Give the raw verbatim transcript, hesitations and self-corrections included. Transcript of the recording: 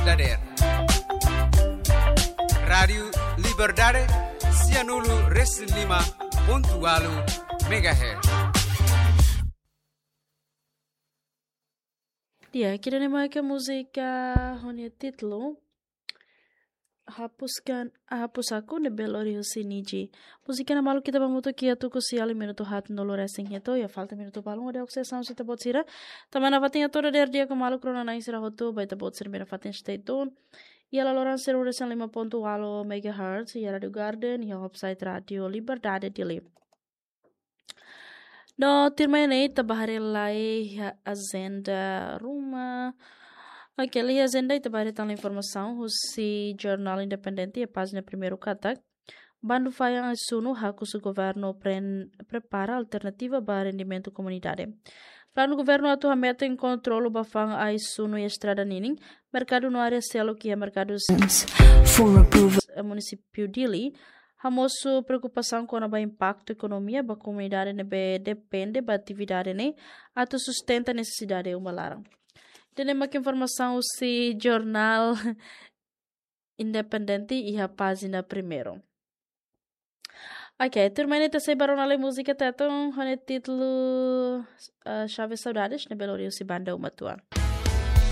dadeer. Rádiu Liberdade, sianulu resin lima pontu ualu megahertz. Di'ak, ida-ne'e mak múzika ho nia títulu Hapuskan, Hapus Aku ne'ebé lori husi Niji. Múzika ne'e maluk ita ba hamutuk iha tuku sia liu minutu haatnulu resin hitu, iha falta minutu balun hodi oksesão sita bot sira. Tanba nafatin atu dadeer di'ak ho maluk rona-na'in sira hotu, ba ita-boot sira-nia nafatin stay tuned. Iha laloran sianulu resin lima pontu ualu megahertz, iha Rádiu Garden, iha website Rádiu Liberdade Dili. No tuirmai ne'e ita ba haree lai iha ajenda ruma. Oke, liu iha ajenda ita ba haree tan informasaun husi Jornál Independente iha pájina primeiru katak: Bandu fa'an ai-sunu hakusu governu pren-, prepara alternativa ba rendimentu komunidade. Planu governu atu hametin kontrolu ba fa'an ai-sunu iha estrada ninin, merkadu no área seluk iha merkadu s-, For approval. Munisípiu Dili hamosu preokupasaun kona-ba impaktu ekonomia ba komunidade ne'ebé depende ba atividade ne'e atu sustenta nesesidade uma laran. Ida-ne'e mak informasaun husi Jornál Independente iha pájina primeiru. Oke, tuirmai ne'e ita sei ba rona lai múzika Tetun ho nia títulu, eh, Chave Saudades, ne'ebé lori husi banda Uma Tua.